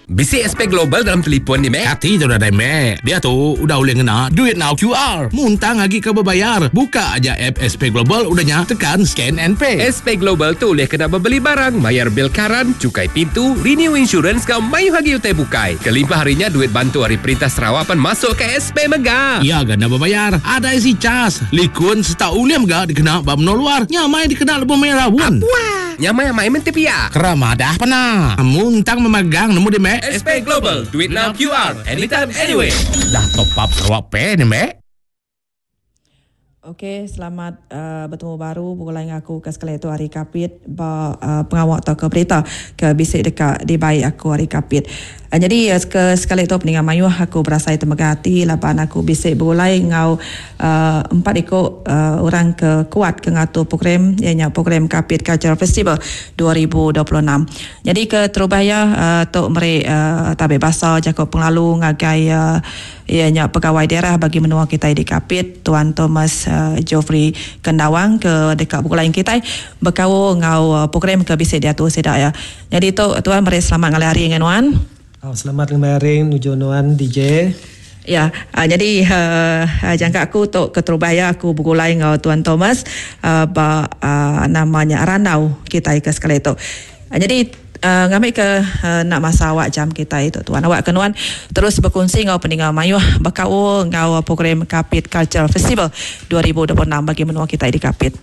Bisi SP Global dalam telipon ni meh. Kati tu nadai meh. Diatu udah ulih ngena duit enggau QR. Muntang agi ke bebayar. Buka aja app SP Global udah nya tekan scan and pay. SP Global tu ulih kena bebeli barang, mayar bil karan, chukai pintu, renew insurance enggau mayuh agi utai bukai. Kelimpah ari nya duit bantu ari perintah Sarawak pan masuk ke SP mega. Iya ga enda bebayar. Adai si cas, likun sereta ulih mega dikena ba menua luar. Nya mai dikena lebuh maya raun. Apuah! Nyamai amai menti pia. Kera madah pena. Muntang memagang nemu di mek. SP Global, duit now QR, anytime anywhere. Dah top up Sarawak Pay ni mek. Ok selamat uh, betemu baru begulai enggau aku ke sekali tu ari Kapit ba uh, pengawa tauka berita ke bisi deka dibai aku ari Kapit. Uh, jadi uh, ke sekali tu peninga mayuh aku berasai temegah ati laban aku bisi begulai enggau Empat iku orang ke kuat ke ngatur program iya nya program Kapit Cultural Festival 2026. Nyadi ke terubah iya tu meri tabi basa jaku pengelalu ngagai iya nya Pegawai Daerah bagi menua kitai di Kapit Tuan Thomas Geoffrey Kendawang ke deka begulai enggau kitai bekaul enggau program ke bisi diatur sida iya. Nyadi tu tuan meri selamat ngalih hari ngagai nuan. Selamat ngemai hari nuju nuan DJ. Ya, nyadi jangka aku tu keterubah iya aku begulai enggau Tuan Thomas ba nama nya randau kitai ke sekali tu. Nyadi ngambika enda masa awak jam kitai tu tuan awak ke nuan terus bekunsi enggau peninga mayuh bekaul enggau program Kapit Cultural Festival 2026 bagi menua kitai di Kapit.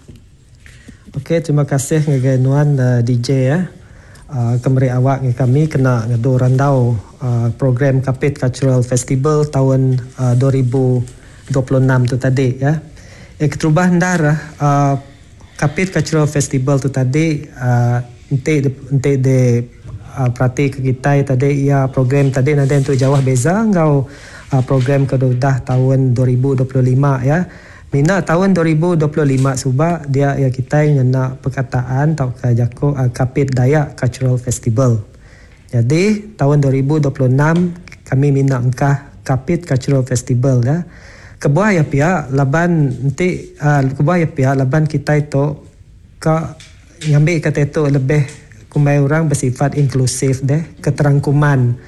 Ok terima kasih ngagai nuan DJ ya ke meri awak ngagai kami kena ngedu randau program Kapit Cultural Festival taun 2026 tu tadi ya. Eh keterubah endar Kapit Cultural Festival tu tadi enti enti di perati ke kitai tadi iya program tadi nadai entu jauh beza enggau program ke udah taun 2025 ya. Mina taun 2025 suba dia iya kitai ngena perkataan tauka jaku Kapit Dayak Cultural Festival. Nyadi taun 2026 kami mina engkah Kapit Cultural Festival ya. Kebuah iya pia laban enti kebuah iya pia laban kitai tu ka ngambi ka tu lebih kumbai orang besifat inklusif deh keterangkuman.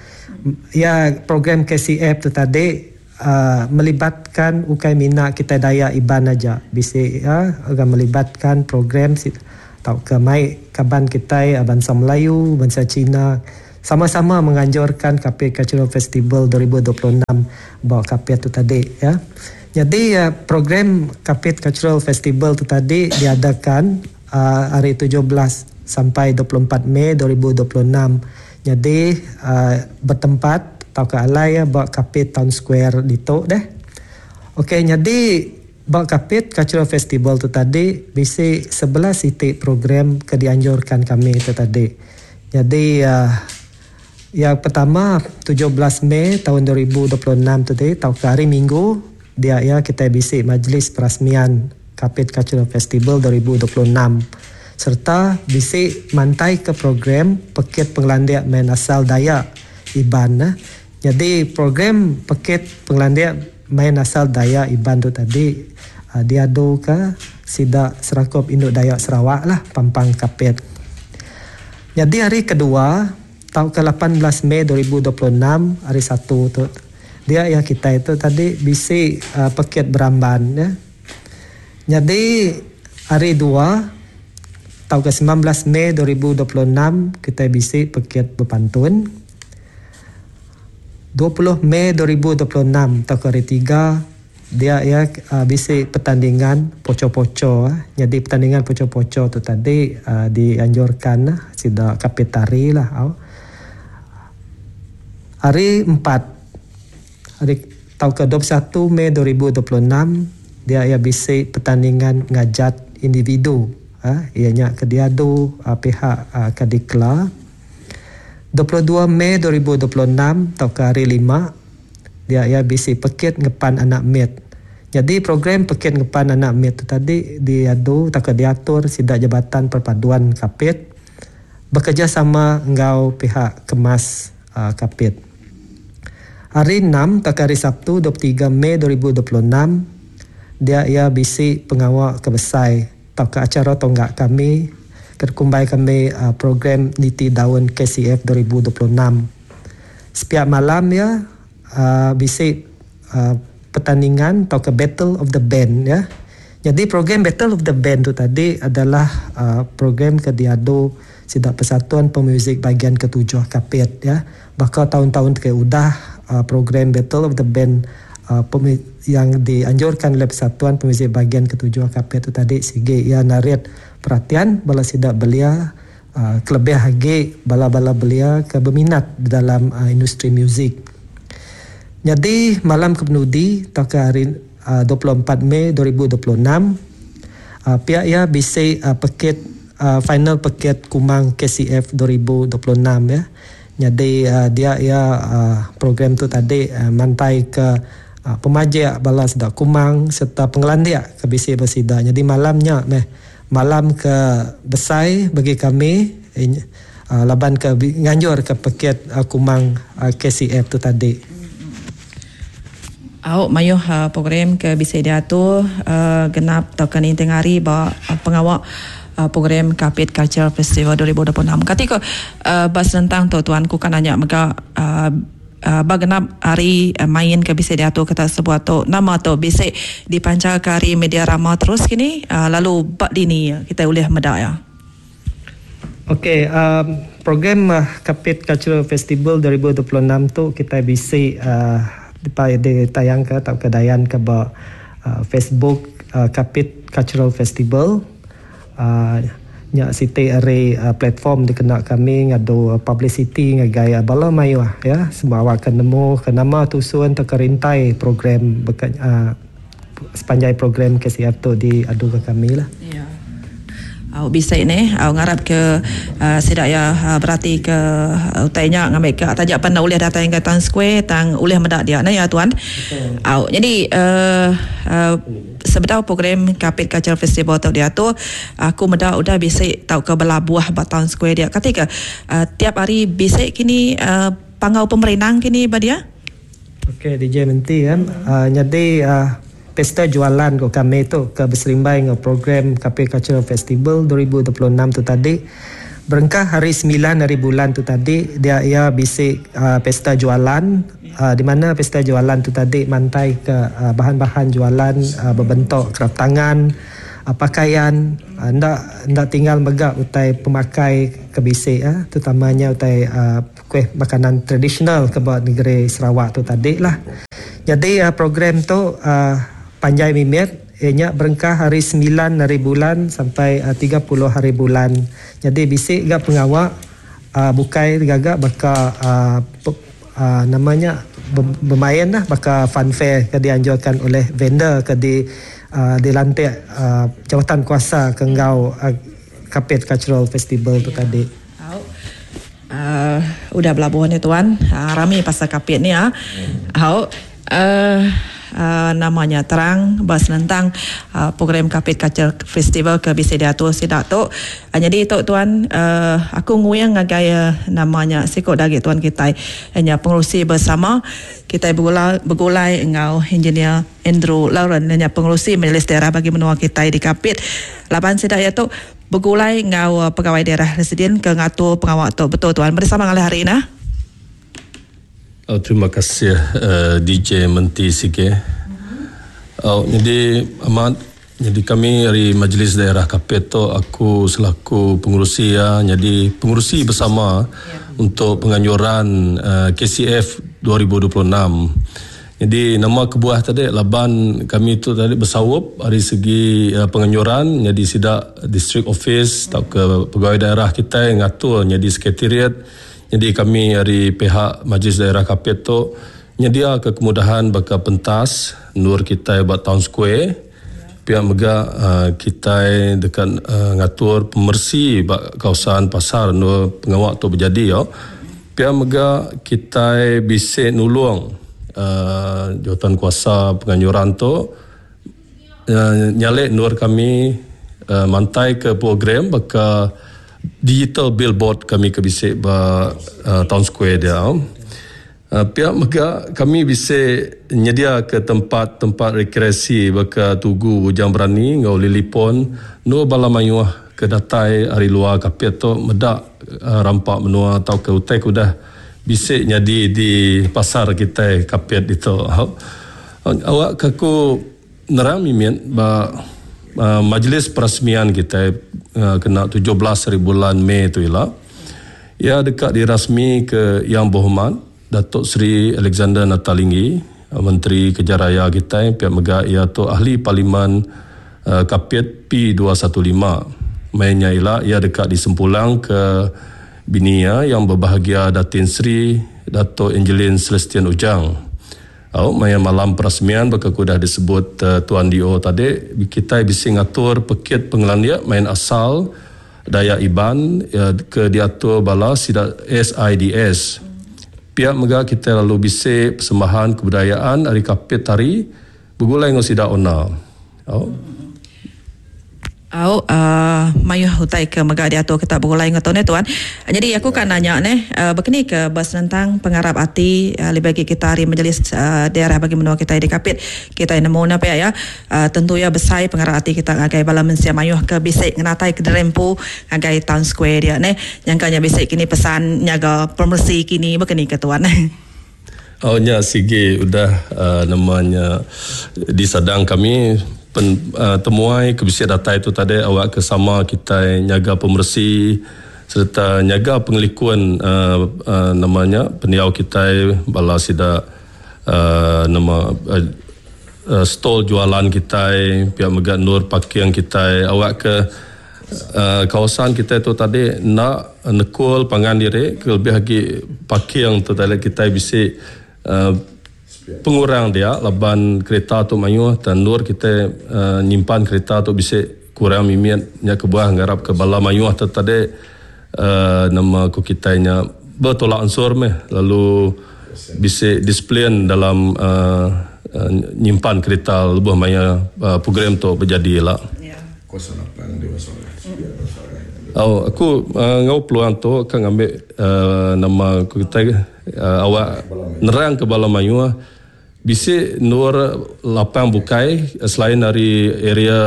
Iya program KCF tu tadi Melibatkan ukai mina kitai Dayak Iban aja bisi iya ga melibatkan program tauka mai kaban kitai bansa Melayu, bansa Cina sama-sama menganjurkan Kapit Cultural Festival 2026 ba Kapit tu tadi ya. Nyadi program Kapit Cultural Festival tu tadi diadakan hari 17 sampai 24 Mei 2026 Nyadi betempat tauka alai iya ba Kapit Town Square ditu deh. Ok nyadi ba Kapit Cultural Festival tu tadi bisi 11 iti program ke dianjurkan kami tu tadi. Nyadi yang pertama 17 Mei taun 2026 tu tadi tauka hari Minggu dia iya kitai bisi Majlis Perasmian Kapit Cultural Festival 2026 sereta bisi mantaika program Pekit Pengelandik Main Asal Dayak Iban. Nyadi program Pekit Pengelandik Main Asal Dayak Iban tu tadi diaduka sida Serakup Indu Dayak Sarawak lah pampang Kapit. Nyadi hari kedua tauka 18 Mei 2026 hari Satu tu dia iya kitai tu tadi bisi pekit beramban. Nyadi hari Dua tauka 19 Mei 2026 kitai bisi pekit bepantun. 20 Mei 2026 tauka hari Tiga dia iya bisi pertandingan poco-poco. Nyadi pertandingan poco-poco tu tadi dianjurkan sida Kapit Tari lah au. Hari Empat hari tauka 21 Mei 2026 dia iya bisi pertandingan ngajat individu iya nya ke diadu pihak Kadikla. 22 Mei 2026 tauka hari Lima dia iya bisi pekit ngepan anak mit. Nyadi program pekit ngepan anak mit tu tadi diadu tauka diatur sida Jabatan Perpaduan Kapit bekerjasama enggau pihak Kemas Kapit. Hari Enam tauka hari Sabtu 23 Mei 2026 dia iya bisi pengawa ke besai tauka acara tongga kami ke dikumbai kami program Niti Daun KCF 2026. Sepiak malam iya uh, bisi uh, pertandingan tauka Battle of the Band ya. Jadi program Battle of the Band tu tadi adalah uh, program ke diadu sida Persatuan Pemuzik Bahagian Ketujuh Kapit ya. Baka taun-taun ke udah uh, program Battle of the Band uh, yang dianjurkan oleh Persatuan Pemuzik Bahagian Ketujuh Kapit tu tadi sigi ia narit perhatian bala sida belia uh, kelebih agi bala-bala belia ke berminat dalam uh, industri muzik. Jadi malam kepenudi tauka hari uh, 24 Mei 2026 uh, pihak ia bisi uh, peket uh, final peket Kumang KCF 2026 ya. Jadi uh, dia ia uh, program tu tadi uh, mantai ke uh, pemajik bala sida Kumang serta pengelandik ke bisi bersida. Jadi malamnya meh malam ke besai bagi kami uh, laban ke nganjur ke peket uh, Kumang uh, KCF tu tadi. Au mayuh uh, program ke bisa diatur uh, genap tauka ninting hari ba uh, pengawak uh, program Kapit Cultural Festival 2026. Kati ko uh, bas tentang tu tuan ku kan nanya mega uh, uh, ba genap hari uh, main ke bisa diatur kata sebuah tu nama tu bisa dipancar ke hari media rama terus kini uh, lalu bak dini kita boleh medak ya. Okey, um, program uh, Kapit Cultural Festival 2026 tu kita bisa uh, ditayang ke atau kedayan ke ba uh, Facebook uh, Kapit Cultural Festival. Uh, nya siti ari uh, platform dikena kami ngadu uh, publicity ngagai uh, bala mayuh ya semua awak akan nemu ke nama tusun atau kerintai program bekat, uh, sepanjang program KCF tu diadu ke kami lah. Ya. Au bisa ni, au ngarap ke uh, sidak ya uh, berarti ke uh, utainya ngambil ke tajak pandai ulih datang ke Town Square tang ulih medak dia nah ya tuan. Au jadi uh, uh, sebedau program Kapit Cultural Festival tu diatur, aku medak udah bisa tau ke belabuh ba Town Square dia. Ketika uh, tiap hari bisa kini uh, pangau pemerintah kini ba dia. Okey DJ Menti kan. Uh, jadi uh, pesta jualan ko kami tu ke berserimbai dengan program Kapit Cultural Festival 2026 tu tadi. Berengkah hari 9 hari bulan tu tadi dia ia bisik uh, pesta jualan uh, di mana pesta jualan tu tadi mantai ke uh, bahan-bahan jualan uh, berbentuk kraf tangan, uh, pakaian, uh, ndak ndak tinggal megak utai pemakai ke bisik uh, terutamanya utai uh, kuih makanan tradisional ke buat negeri Sarawak tu tadi lah. Jadi uh, program tu uh, panjai mimit ianya berengkah hari 9 hari bulan sampai uh, 30 hari bulan. Jadi bisik gak pengawak uh, bukai gagak baka uh, uh, namanya bermain lah baka fun fair ke dianjurkan oleh vendor ke di uh, dilantik uh, jawatan kuasa ke enggau uh, Kapit Cultural Festival tu tadi. Uh, udah belabuhan ni tuan. Uh, rami pasal Kapit ni ah. Uh. Uh, uh, namanya terang bahas tentang uh, program Kapit Cultural Festival ke bisa diatur sidak tu. Uh, jadi tu tuan uh, aku nguyang ngagai uh, namanya sikok dagi tuan kita hanya pengurusi bersama kita bergulai, bergulai engau engineer Andrew Lauren hanya pengurusi Majlis Daerah bagi menua kita di Kapit. Laban sidak ya tu bergulai engau uh, pegawai daerah residen ke ngatur pengawak tu betul tuan bersama ngalih hari ini. Oh, terima kasih uh, DJ Menti Sike. Oh, jadi amat jadi kami dari Majlis Daerah Kapit tu aku selaku pengurusi ya, jadi pengurusi bersama ya. Untuk penganjuran uh, KCF 2026. Jadi nama kebuah tadi laban kami tu tadi bersawup dari segi uh, penganjuran jadi sidak district office atau ke pegawai daerah kita yang ngatur jadi sekretariat. Jadi kami dari pihak Majlis Daerah Kapit tu nyedia ke kemudahan baka pentas nur kita buat Town Square. Pihak mega uh, kita dekat uh, ngatur pemersi bak kawasan pasar nur pengawak tu berjadi yo. Pihak mega kita bisa nulung uh, jawatan kuasa penganjuran tu uh, nyalek nur kami uh, mantai ke program baka digital billboard kami ke bisik ba uh, Town Square dia. Uh, pihak mega kami bisa nyedia ke tempat-tempat rekreasi baka Tugu Bujang Berani ngau Lilipon no bala mayuh ke datai ari luar Kapit tu medak uh, rampak menua atau ke utai ke udah bisi nyadi di pasar kitai Kapit ditu. Awak ke aku nerang mimit ba majlis perasmian kitai kena 17 hari bulan Mei tu ila. Iya deka dirasmi ke Yang Berhormat Datuk Seri Alexander Nata Linggi, Menteri Kereja Raya kitai pia mega iya tu Ahli Parlimen Kapit P215. Maya nya ila iya deka disempulang ke bini iya Yang Berbahagia Datin Seri Dato Angeline Celestian Ujang. Au maya malam perasmian baka ke udah disebut Tuan DO tadi kitai bisi ngatur pekit pengelandik main asal Dayak Iban ke diatur bala sida SIDS. Pia mega kitai lalu bisi persembahan kebudayaan ari Kapit Tari begulai enggau sida Ona. Au. Au mayuh utai ke mega diatur kita begulai enggau tu neh tuan. Nyadi aku ka nanya neh bekeni ke besenentang pengarap ati lebih agi kita ari Majlis Daerah bagi menua kitai di Kapit. Kitai nemu ne pia iya. Tentu iya besai pengarap ati kita ngagai bala mensia mayuh ke bisi ngenatai kediri empu ngagai Town Square dia neh. Nyangka nya bisi kini pesan nyaga pemeresi kini baka ni ke tuan. Oh nya sigi udah nama nya disadang kami pen temuai ke bisi datai tu tadi awak ke sama kitai nyaga pemeresi sereta nyaga pengelikun uhh nama nya pendiau kitai bala sida uhh nama stall jualan kitai pia mega endur parking kitai awak ke Kawasan kitai tu tadi enda nekul pangan diri ke lebih agi parking tu tadi kitai bisi pengurang dia laban kereta tu mayuh tang endur kitai nyimpan kereta tu bisi kurang mimit nya kebuah ngarap ke bala mayuh tu tadi nama ku kitai nya betolak ansur meh lalu bisi disiplin dalam nyimpan kereta lebuh maya program tu bejadi ila. Au aku enggau peluang tu ka ngambi nama ku kitai awak nerang ke bala mayuh bisi endur lapang bukai selain ari area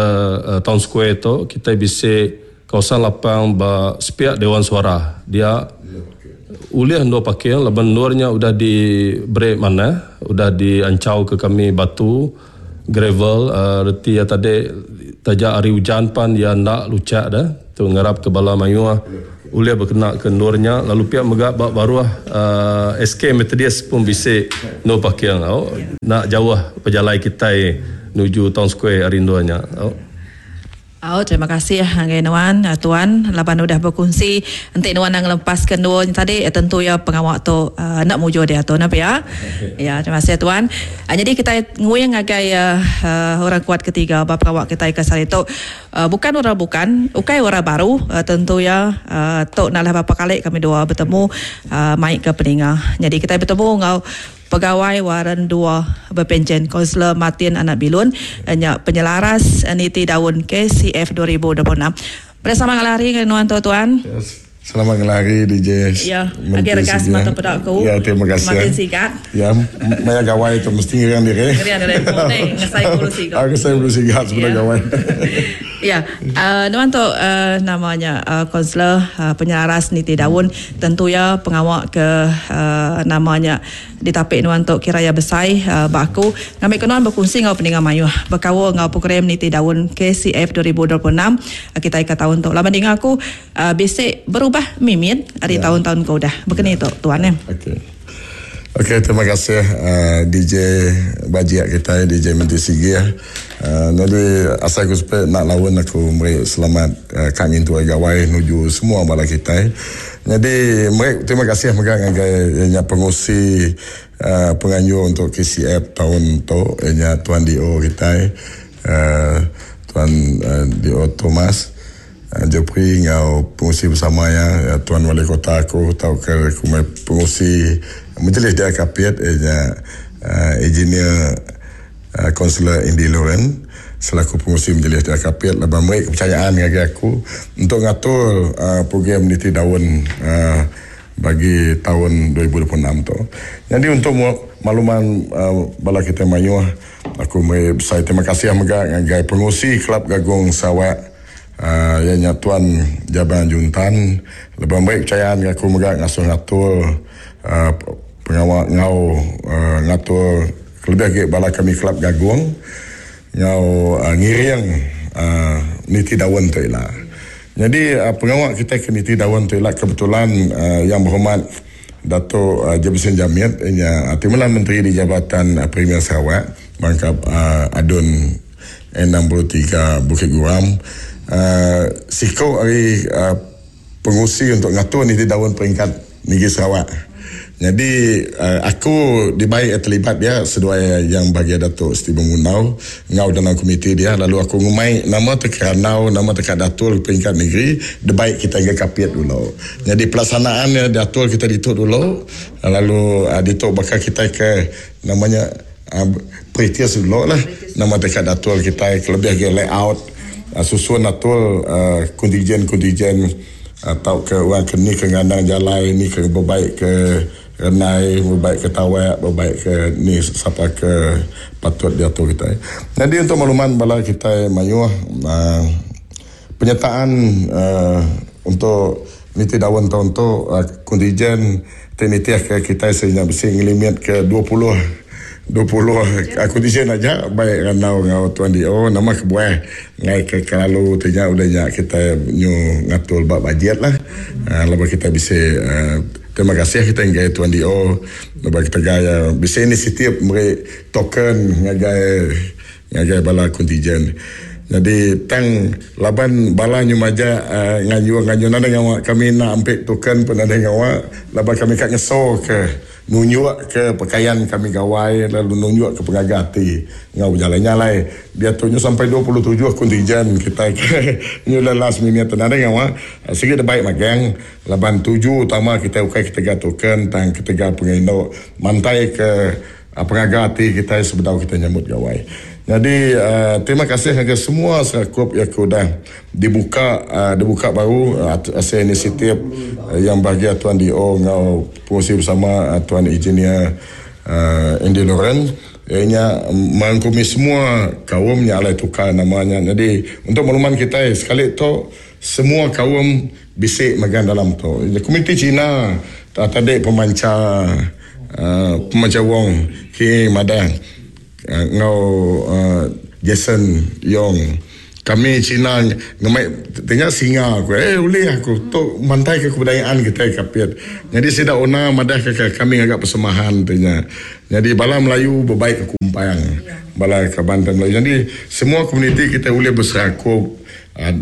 town square tu kitai bisi kawasan lapang ba sepiak Dewan Suarah dia ulih endur parking laban endur nya udah diberi manah udah dianchau ke kami batu. Gravel reti iya tadi taja hari ujan pan iya enda luchak deh. Tu ngarap ke bala mayuh ulih bekena ke endur nya lalu pia mega ba baruh SK Methodist pun bisi endur parking au enda jauh pejalai kitai nuju Town Square ari endur nya au. Au terima kasih ngagai nuan tuan laban udah bekunsi enti nuan enda ngelepas ke endur nya tadi tentu iya pengawa tu enda mujur diatu ne pia. Ya terima kasih tuan. Nyadi kitai nguing ngagai orang kuat ketiga ba pengawa kitai ke sehari tu bukan orang bukan ukai orang baru tentu iya tu enda lah berapa kali kami dua betemu mai ke peninga. Nyadi kitai betemu enggau Pegawai Waren Dua Bepenchen Konselor Martin Anak Bilun nya penyelaras niti daun KCF 2026. Bersama ngalih hari ngagai nuan tu tuan. Selamat ngalih hari DJ. Ya, agi regas mata peda aku. Ya, terima kasih. Martin Sigat. Ya, maya gawai tu mesti ngeriang diri. Ngeriang diri empu ni ngesai bulu sigat. Ah, ngesai bulu sigat sebedau gawai. Ya, nuan tu nama nya konselor penyelaras niti daun. Tentu iya pengawa ke nama nya ditapi nuan tu kira iya besai ba aku. Ngambika nuan bekunsi enggau peninga mayuh bekaul enggau program niti daun KCF 2026 kitai ke taun tu. Laban dinga aku bisi berubah mimit ari taun-taun ke udah. Baka ni tu tuan eh. Okey. Okey terima kasih DJ bajik kitai DJ Menti Sigih. Nyadi asai ku sepek enda laun aku meri selamat ka ngintu hari gawai nuju semua bala kitai. Nyadi meri terima kasih mega ngagai iya nya pengusi penganjur untuk KCF taun tu iya nya Tuan DO kitai Tuan DO Thomas Jopri enggau pengusi bersama iya Tuan Wali Kota aku tauka ku pengusi Majlis Daerah Kapit iya nya Engineer Kaunselor Andy Loren selaku pengurusi Majlis Daerah Kapit laban meri kepercayaan ngagai aku untuk ngatur program niti daun bagi taun 2026 tu. Nyadi untuk makluman bala kitai mayuh, aku meri besai terima kasih mega ngagai pengurusi Kelab Gagung Sarawak. Iya nya Tuan Jabang Juntan lebuh meri pechayaan ngaku mega ngasuh ngatur pengawa enggau ngatur kelebih agi bala kami Kelab Gagung enggau ngiring niti daun tu ila. Nyadi pengawa kitai ke niti daun tu ila kebetulan Yang Berhormat Datuk Jebson Jamit iya nya Timbalan Menteri di Jabatan Premier Sarawak bangkap ADUN 63 Bukit Guram siku ari pengusi untuk ngatur niti daun peringkat Negeri Sarawak. Nyadi aku dibai terlibat dia seduai yang bahagia Datuk Stephen Munau enggau dalam komiti dia lalu aku ngumai nama te kerandau nama te ka datur peringkat negeri debai kita ngagai Kapit dulu. Nyadi pelaksanaan iya diatur kita ditu dulu lalu ditu baka kitai ke nama nya Peritis dulu lah nama deka datur kitai kelebih agi layout susun atur kontijen-kontijen tauka orang ke ni ke ngandang jalai ni ke bebaik ke renai bebaik ke tawak bebaik ke ni sapa ke patut diatur kitai. Nyadi untuk makluman bala kitai mayuh uhh penyertaan uhh untuk niti daun taun tu kontijen Ti nitih ke kitai seinya bisi ngelimit ke 20, 20 aku ti sin aja baik randau enggau Tuan DO nama kebuah enggai ke kelalu ti nya udah nya kitai nyu ngatur ba bajet lah laban kitai bisi terima kasih kitai ngagai Tuan DO laban ketegal iya bisi inisiatif meri token ngagai ngagai bala kontijen. Nyadi tang laban bala nyu majak nganjung nganjung nadai ngawa kami enda ampit token pun nadai ngawa laban kami ka ngeso ke nunjuk ke pekayan kami gawai lalu nunjuk ke pengaga ati enggau bejalai. Nya alai diatu nyu sampai 27 kontijen kitai ke nyu le last minute tu nadai ngawa sigi da baik magang laban tuju utama kitai ukai ketegal token tang ketegal pengerindu mantai ke Pengaga ati kitai sebedau kitai nyambut gawai. Nyadi terima kasih ngagai semua serakup iya ke udah dibuka dibuka baru asil inisiatif Yang Bahagia Tuan DO enggau Pengurusi Bersama Tuan Engineer Andy Lawrence iya nya merangkumi semua kaum nya alai tukar nama nya. Nyadi untuk makluman kitai sekali tu semua kaum bisi mega dalam tu. Komiti Cina tadi pemancha. Pemancha Wong Hee madah enggau Jason Yong kami Cina ngemai ti nya singa ku eh ulih aku tu mantai ke kebudayaan kitai Kapit. Nyadi sida ona madah ke kami ngaga persemahan ti nya. Nyadi bala Melayu bebaik ke Kumpang bala kaban kitai Melayu. Nyadi semua komuniti kitai ulih beserakup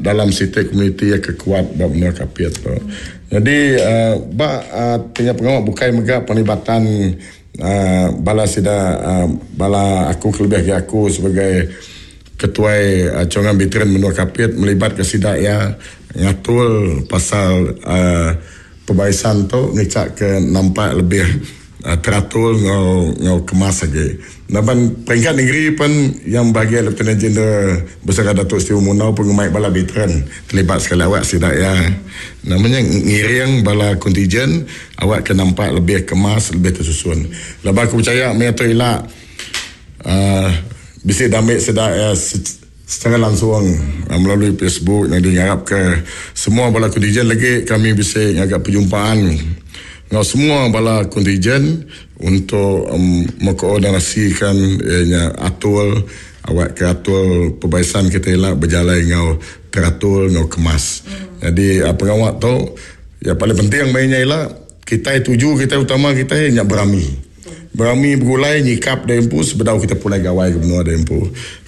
dalam siti komuniti iya ke kuat ba menua Kapit tu. Nyadi ba tinggal pengawa bukai mega penglibatan bala sida bala aku kelebih agi aku sebagai ketuai Chongan Veteran menua Kapit melibatka sida iya ngatur pasal pebarisan tu ngichaka nampak lebih teratur enggau enggau kemas agi. Laban peringkat negeri pen yang bahagia Lieutenant General Besara Datuk Stephen Munau pun ngemai bala veteran terlibat sekali awak sida iya nama nya ngiring bala kontijen awak ke nampak lebih kemas lebih tersusun. Laban aku pechaya maya tu ila uhh bisi dambi sida iya secara langsung melalui Facebook nyadi ngarap ke semua bala kontijen lagi kami bisi ngaga perjumpaan enggau semua bala kontijen untuk mengkoordinasikan iya nya atur awak ke atur pebaisan kita ila bejalai enggau teratur enggau kemas. Nyadi pengawa tu iya paling penting meh nya ila kitai tuju kitai utama kitai nya berami. Berami begulai nyikap diri empu sebedau kita pulai gawai ke menua diri empu.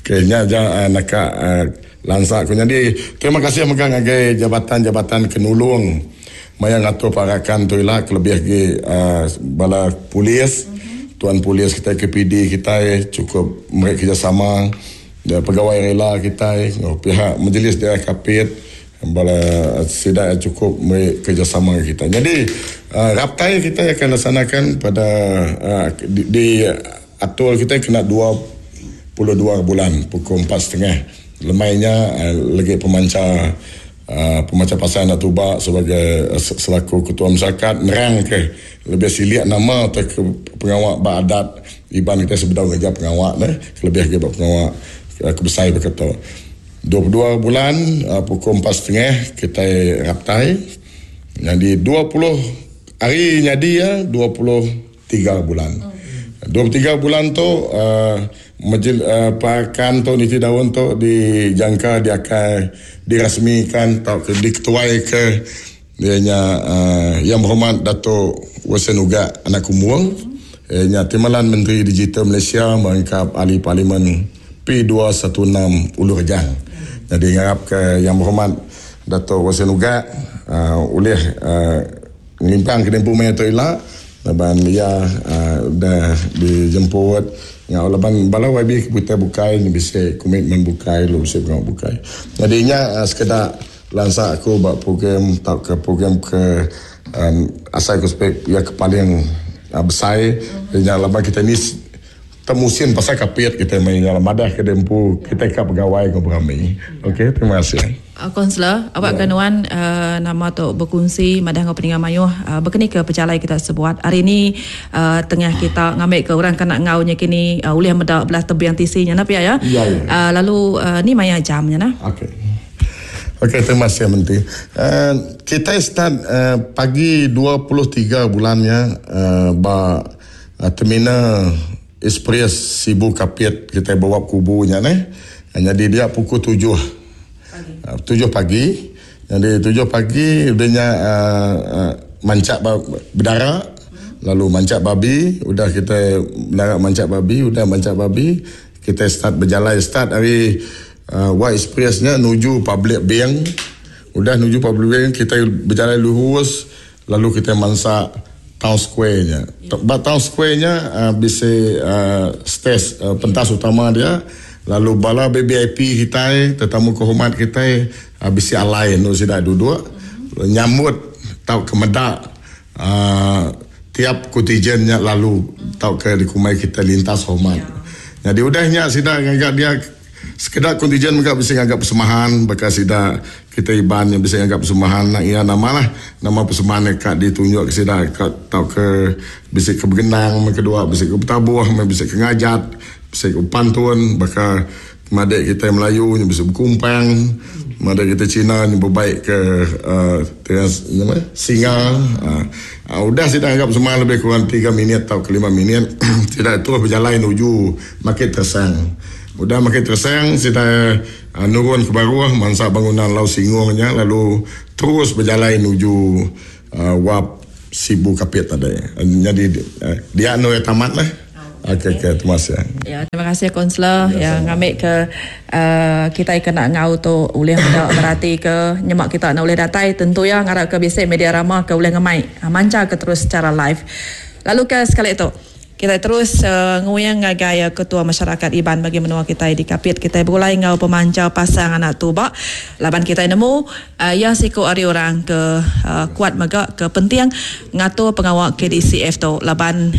Okey nya aja naka lansa ku nyadi. Terima kasih mega ngagai jabatan-jabatan ke nulung maya ngatur parakan tu ila kelebih agi bala polis, tuan polis kitai KPD kitai chukup meri kerjasama pegawai rela kitai enggau pihak Majlis Daerah Kapit. Bala sida chukup meri kerjasama ngagai kitai. Nyadi raptai kitai akan laksanakan pada di, di atur kitai kena 22 bulan pukul empat setengah lemai nya legi pemancha pemancha pasar enda tuba sebagai selaku ketua masyarakat nerang ke lebih silik nama tauka pengawa ba adat Iban kitai sebedau ngereja pengawa ne kelebih agi ba pengawa ke besai baka tu. 22 bulan pukul 4.30 kitai raptai. Nyadi 20 hari nyadi iya 23 bulan. 23 bulan tu majlis pakan tu niti daun tu dijangka diakai dirasmikan tauka diketuaika iya nya Yang Berhormat Dato Wilson Ugak anak Kumbong iya nya Timbalan Menteri Digital Malaysia merangkap Ahli Parlimen P216 Ulu Rejang. Nyadi ngarapka Yang Berhormat Dato Wilson Ugak ulih ngelimpang ke dempu maya tu ila laban iya udah dijemput enggau laban bala YB ke butai bukai bisi komitmen bukai lalu bisi pengawa bukai. Nyadi nya sekeda lansa aku ba program tauka program ke asai ku spek iya ke paling besai nya laban kitai ni temusin pasal kapit kitai meh nya madah ke dempu kitai ka begawai enggau berami. Okey terima kasih. Kaunselor, awak ke nuan nama tu bekunsi madah enggau peninga mayuh bekeni ke pejalai kita sebuat hari ni tengah kita ngambi ke orang ke nak enggau nya kini ulih meda belah tebing tisi nya nah pia ya. Lalu ni maya jam nya nah. Okey. Okey terima kasih Menteri. Kitai start pagi 23 bulan nya ba Terminal Express Sibu Kapit kitai bawa kubu nya neh. Nyadi dia pukul 7. Pagi. 7 pagi. Nyadi 7 pagi udah nya mancak bedara lalu mancak babi udah kitai bedara mancak babi udah mancak babi kitai start bejalai start ari White Express nya nuju Public Bank. Udah nuju Public Bank kitai bejalai lurus lalu kitai mansa Town Square nya. Ba Town Square nya bisi stage pentas utama dia lalu bala VVIP kitai tetamu kehormat kitai bisi alai endur sida duduk nyambut tauka meda tiap kontijen nya lalu tauka dikumbai kitai lintas hormat. Nyadi udah nya sida ngaga dia. Sekeda kontijen mega bisi ngaga persembahan baka sida kitai Iban nya bisi ngaga persembahan nak iya nama lah nama persembahan nya ka ditunjuk ke sida ka tauka bisi ke begendang meh kedua bisi ke betabuh meh bisi ke ngajat bisi ke bepantun baka madik kitai Melayu nya bisi bekumpang madik kitai Cina nya bebaik ke uhh nama singa uhh udah sida ngaga persembahan lebih kurang tiga minit tauka lima minit sida terus bejalai nuju Makit Tersang. Udah Makit Tersang, sida nurun ke baruh mansa bangunan Lau Singong nya lalu terus bejalai nuju Wap Sibu Kapit tadi. Nyadi dia endur iya tamat lah. Okey okey terima kasih. Ya terima kasih kaunselor ya ngambi ke kitai ke enda enggau tu ulih meda berati ke nyema kita enda ulih datai tentu iya ngarap ke bisi media rama ke ulih ngemai mancha ke terus secara live. Lalu ke sekali tu. Kitai terus nguing ngagai Ketua Masyarakat Iban bagi menua kitai di Kapit. Kitai begulai enggau pemancha pasang anak tuba laban kitai nemu iya siku ari orang ke kuat mega ke penting ngatur pengawa KDCF tu laban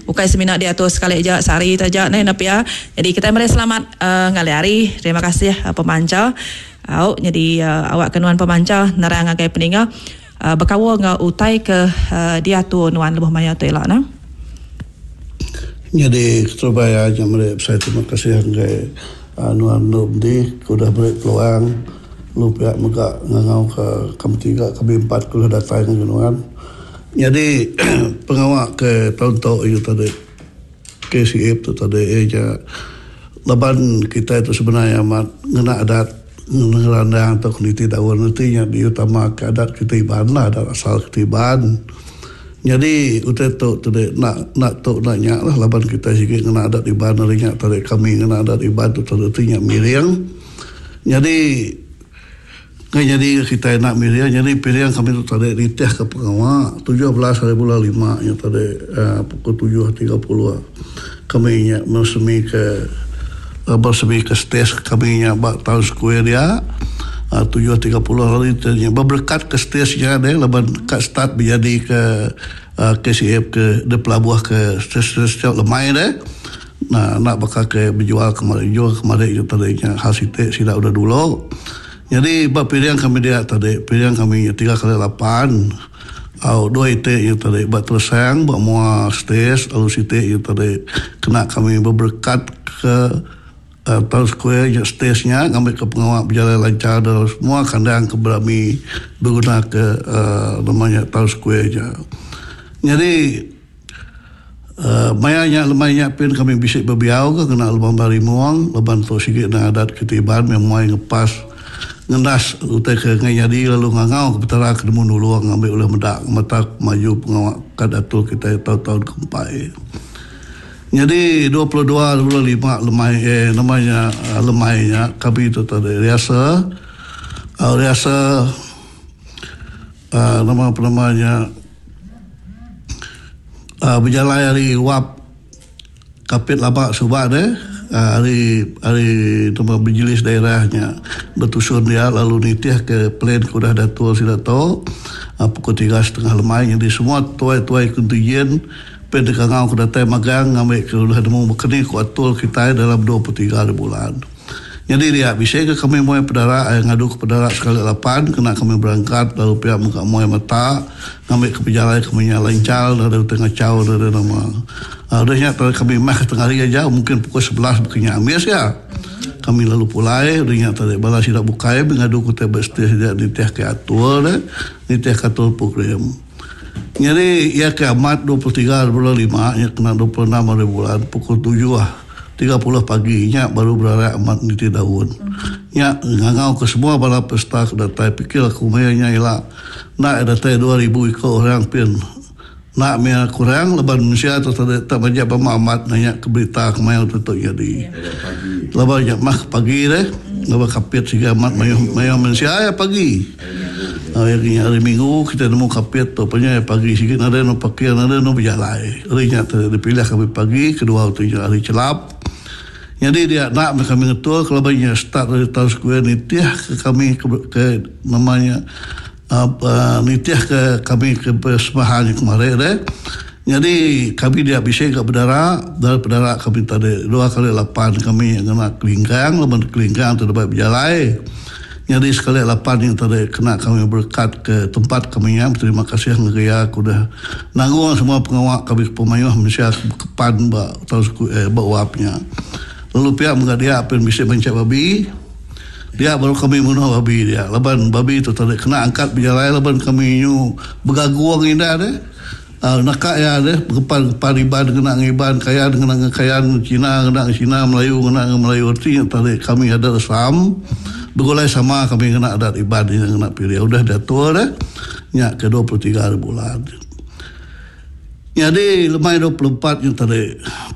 ukai semina diatur sekali aja sehari tu aja neh enda pia. Jadi kitai meri selamat ngalih hari. Terima kasih pemancha. Au nyadi awak ke nuan pemancha nerang ngagai peninga. Bekaul enggau utai ke diatur nuan lebuh maya tu ila nah. Nyadi keterubah iya nya meri besai terima kasih ngagai nuan Endu Medi ke udah meri peluang lalu pia mega ngangau ke kami tiga kami empat ke udah datai ngagai nuan. Nyadi pengawa ke taun tu inya tadi KCF tu tadi iya nya laban kitai tu sebenar amat ngena adat ngerandang tauka niti daun reti nya diutama ka adat kitai Iban lah adat asal kitai Iban. Nyadi utai tu tadi enda enda tu enda nya lah laban kitai sigi ngena adat Iban ari nya tadi kami ngena adat Iban tu tadi reti nya miring. Nyadi Enggai nyadi ga kitai enda milih nyadi piring kami tu tadi nitih ka pengawa 17 hari bulan lima nya tadi uhh pukul 7.30 kami nya meresmi ke meresmi ke stage kami nya ba town square dia uhh 7.30 lalu nya beberekat ke stage nya deh laban ka start bejadi ke uhh KCF ke dipelabuh ke stage setiap lemai deh. Nah enda baka ke bejual kemari jual kemari nya tadi nya hal siti sida udah dulu. Nyadi ba piring kami dia tadi piring kami nya tiga kali lapan au dua iti nya tadi ba teresang ba mua stage lalu siti nya tadi kena kami beberekat ke. Town Square nya stage nya ngambika pengawa bejalai lanchar dalam semua kandang ke berami begunaka nama nya Town Square nya. Nyadi maya nya lemai nya pin kami bisi bebiau ke ngena lubang barimung laban tu sigi endang adat kitai Iban meh muai ngepas ngendas utai ke enggai nyadi lalu ngangau ke Petara ke nemu nulung ngambi ulih meda ngemata maju pengawa ka diatur kitai taun-taun ke empai. Nyadi 22 25 lemai eh nama nya lemai nya kami tu tadi riasa riasa uhh nama penama nya uhh bejalai ari wap Kapit lama suba deh ari ari nama majlis daerah nya betusun dia lalu nitih ke plan ke udah diatur sida tu pukul tiga setengah lemai nyadi semua tuai-tuai kontinjen Pen deka ngau ke datai magang ngambi ke ulih nemu baka ni ku atur kitai dalam 23 hari bulan. Nyadi dia bisi ga kami muai pedara ai ngadu ke pedara sekali lapan kena kami berangkat lalu pia mega muai mata ngambi ke pejalai kami nya lanchar nadai utai ngachau nadai nama. Udah nya tadi kami mah ke tengah hari aja mungkin pukul 11 baka nya ambis ga. Kami lalu pulai udah nya tadi bala sida bukai meh ngadu ke utai ba stage dia nitih ke atur deh nitih ke atur program. Nyadi iya ke amat 23 hari bulan lima nya kena 26 hari bulan pukul 7.30 pagi nya baru berarak amat niti daun. Nya ngangau ke semua bala peserta ke datai pikir aku maya nya ila enda iya datai 2000 iko orang pin enda mih kurang laban mensia tu tadi tak majak ba amat nanya ke berita ke maya tu tu nyadi. Laban nya mah ke pagi deh laban kapit siga amat mayuh mayuh mensia iya pagi. Hari nya hari minggu kitai nemu kapit tu penya pagi sigi nadai anu parking nadai anu bejalai. Hari nya tu dipilih kami pagi kedua tu nya hari chelap. Nyadi dia enda meh kami ngetul kelaban nya start ari town square nitih ke kami ke ke nama nya uhh nitih ke kami ke persembahan nya kemari deh. Nyadi kami dia bisi ga bedara dari pedara kami tadi dua kali lapan kami ngena kelingkang laban kelingkang tu deba bejalai. Nyadi sekali lapan nya tadi kena kami berekat ke tempat kami nya beterima kasih ngagai iya ke udah nanggung semua pengawa kami ke pemayuh mensia ke bekepan ba tau eh ba wap nya. Lalu pia mega dia pin bisi banchak babi dia baru kami munuh babi dia laban babi tu tadi kena angkat bejalai laban kami nyu begagung indah deh. Naka iya deh bekepan kepan Iban ngena enggau Iban, Kayan ngena enggau Kayan, Cina ngena enggau Cina, Melayu ngena enggau Melayu reti nya tadi kami adat Islam begulai sama kami ngena adat Iban nya ngena pilih udah diatur deh nya ke 23 hari bulan. Nyadi lemai 24 nya tadi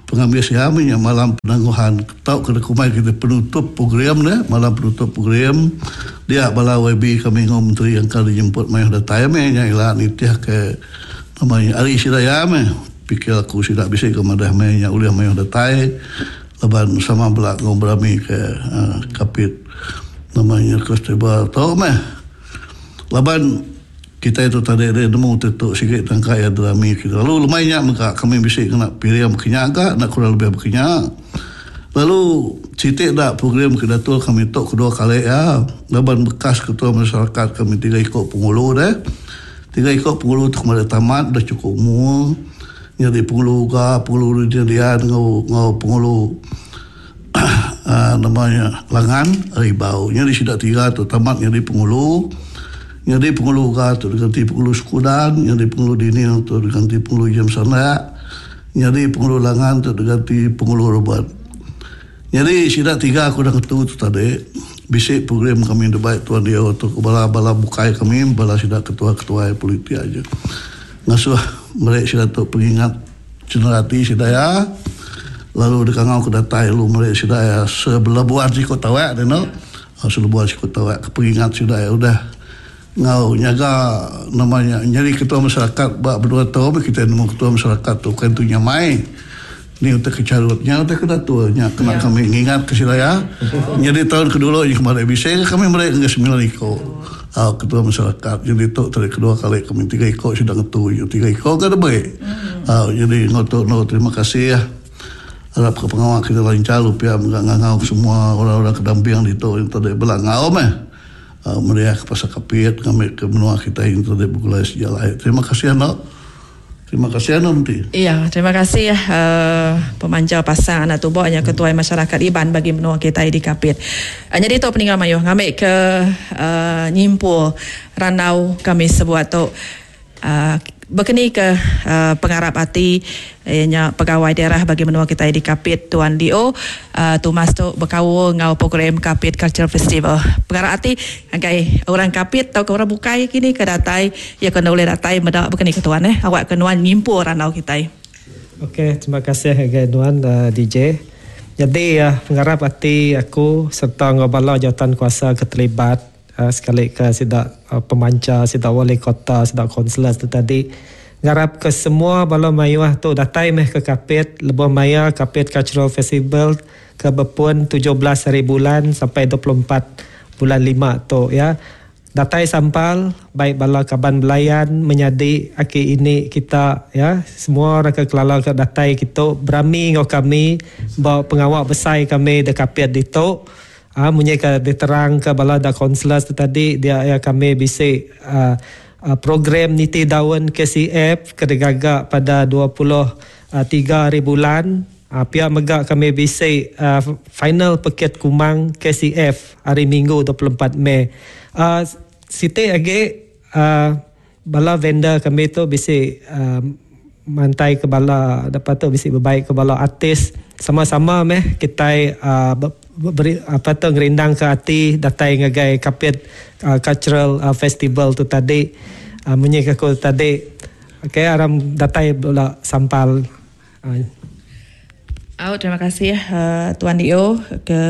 pengambis iya meh nya malam penangguhan tauka dikumbai kitai penutup program deh malam penutup program dia bala YB kami enggau menteri engka dijemput mayuh datai meh nya ila nitih ke Nama nya ari sida iya meh pikir aku sida bisi ke madah meh nya ulih mayuh datai laban sama bela enggau berami ke kapit nama nya festival tu meh laban kitai tu tadi deh nemu ti tu sigi tangka iya derami kita lalu lemai nya mega kami bisi ngena piring baka nya ga enda kurang lebih baka nya lalu siti da program ke diatur kami tu kedua kali iya laban bekas ketua masyarakat kami tiga iko pengulu deh. Tiga iko pengulu tu kemari tamat udah chukup umur nyadi pengulu uga pengulu Rudin Rian enggau enggau pengulu uhh nama nya Langan ari Ibau. Nyadi sida tiga tu tamat nyadi pengulu. Nyadi pengulu uga tu diganti pengulu Sekudan, nyadi pengulu Daniel tu diganti pengulu James Sandak, nyadi pengulu Langan tu diganti pengulu Robert. Nyadi sida tiga aku udah ngetu tu tadi bisi program kami debai tuan dio tu ke bala bala bukai kami bala sida ketua ketuai politik aja ngasuh meri sida tu pengingat cendera ati sida iya lalu dikangau ke datai lalu meri sida iya sebelebuan siku tawak dinu selebuan siku tawak ke pengingat sida iya udah enggau nyaga nama nya nyadi ketua masyarakat ba menua tu meh kitai nemu ketua masyarakat tu bukan tu nyamai ni utai ke charut nya utai ke datur nya kena kami ngingat ke sida iya nyadi taun ke dulu nya kemari bisi ke kami meri ngagai semilan iko au ketua masyarakat nyadi tu tadi kedua kali kami tiga iko sida ngetu nya tiga iko ga debei au nyadi enggau tu enggau terima kasih arap ke pengawa kita lancar pia mega ngangau ke semua orang-orang ke damping ditu tadi bela enggau meh. Meriah ke pasal kapit ngambi ke menua kitai enti deh begulai sejalai. Terima kasih enda. Terima kasih anu menti. Iya, terima kasih uh, pemanja pasang anak tubuh nya ketuai masyarakat Iban bagi menua kitai di Kapit. Nyadi tu peninggal mayuh ngambi ke uh, nyimpul randau kami sebuat tu. Bekeni ke pengarap ati iya nya pegawai daerah bagi menua kitai di Kapit Tuan DO Thomas tu bekaul enggau program Kapit Cultural Festival. Pengarap ati ngagai orang Kapit tauka orang bukai kini ke datai iya ke enda ulih datai meda bekeni ke tuan eh awak ke nuan nyimpul randau kitai. Ok terima kasih ngagai nuan DJ. Nyadi pengarap ati aku serta enggau bala jawatan kuasa ke terlibat Sekali ke sida pemancha, sida wali kota, sida kaunselor tu tadi ngarap ke semua bala mayuh tu datai meh ke Kapit lebuh maya Kapit Cultural Festival ke bepun 17 hari bulan sampai 24 bulan lima tu ya. Datai sampal bai bala kaban belayan menyadi aki ini kita ya semua orang ke kelala ke datai kitu berami enggau kami ba pengawa besai kami de Kapit ditu. Aa munyi ke diterang ke bala da kaunselors tu tadi dia iya kami bisi aa program niti daun KCF ke digaga pada 23 hari bulan. Aa pia mega kami bisi aa final pekit kumang KCF hari minggu 24 Mei. Aa siti agi aa bala vendor kami tu bisi aa mantai ke bala lepas tu bisi bebai ke bala artis sama-sama meh kitai aaa beri apa tu ngerindang ke ati datai ngagai Kapit Cultural Festival tu tadi aaa munyi ke aku tadi okay aram datai bela sampal. Au terima kasih Tuan DO ke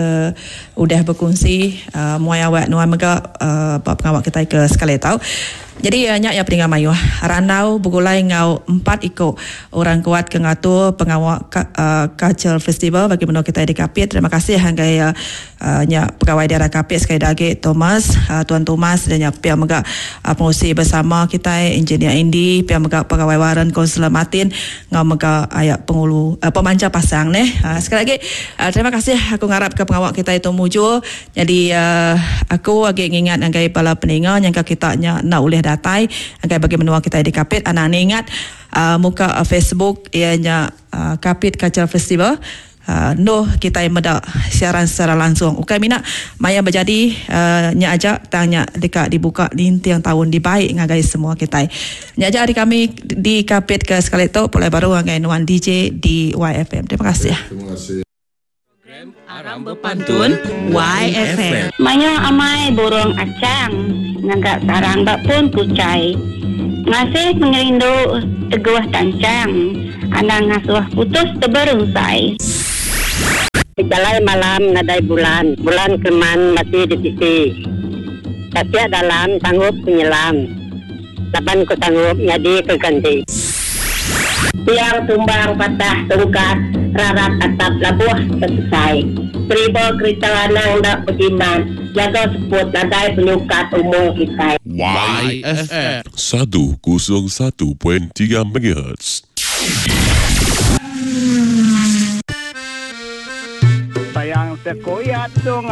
udah bekunsi muai awak nuan mega ba pengawa kitai ke sekali tau. Jadi nya iya peninga mayuh randau begulai enggau empat iku orang kuat ke ngatur pengawa Cultural Festival bagi menua kitai di Kapit. Terima kasih ngagai nya pegawai daerah Kapit sekali da agi Thomas Tuan Thomas dan nya pia mega pengurusi bersama kitai Engineer Andy pia mega pegawai Warren Kaunselor Martin Enggau mega aya pengulu pemancha pasang neh. Sekali agi terima kasih aku ngarap ke pengawa kitai tu mujur. Nyadi aku agi ngingat ngagai bala peninga nyangka kita nya enda ulih datai ngagai bagi menua kitai di Kapit anang ningat muka Facebook iya nya Kapit Cultural Festival. Enduh kitai meda siaran secara langsung. Ukai mina maya bejadi nya aja tang nya deka dibuka ninting taun dibai ngagai semua kitai. Nya aja ari kami di Kapit ke sekali tu pulai baru ngagai nuan DJ di YFM. Terima kasih. Program Aram Bepantun YFM. Mayuh amai burung achang ngaga sarang ba pun kuchai. Ngasih pengerindu teguh tanchang. Anang ngasuh putus teberunsai. Bejalai malam nadai bulan. Bulan keleman mati di tisi. Tasik dalam sanggup ku nyelam. Laban ku sanggup nyadi ke ganti. Tiang tumbang patah tungkat rarat atap labuh tesesai. Deriba kerita anang enda bejimat jaga seput nadai penyukat umur kitai. YFM. 101.3 MHz. Sayang tekuyat sungai.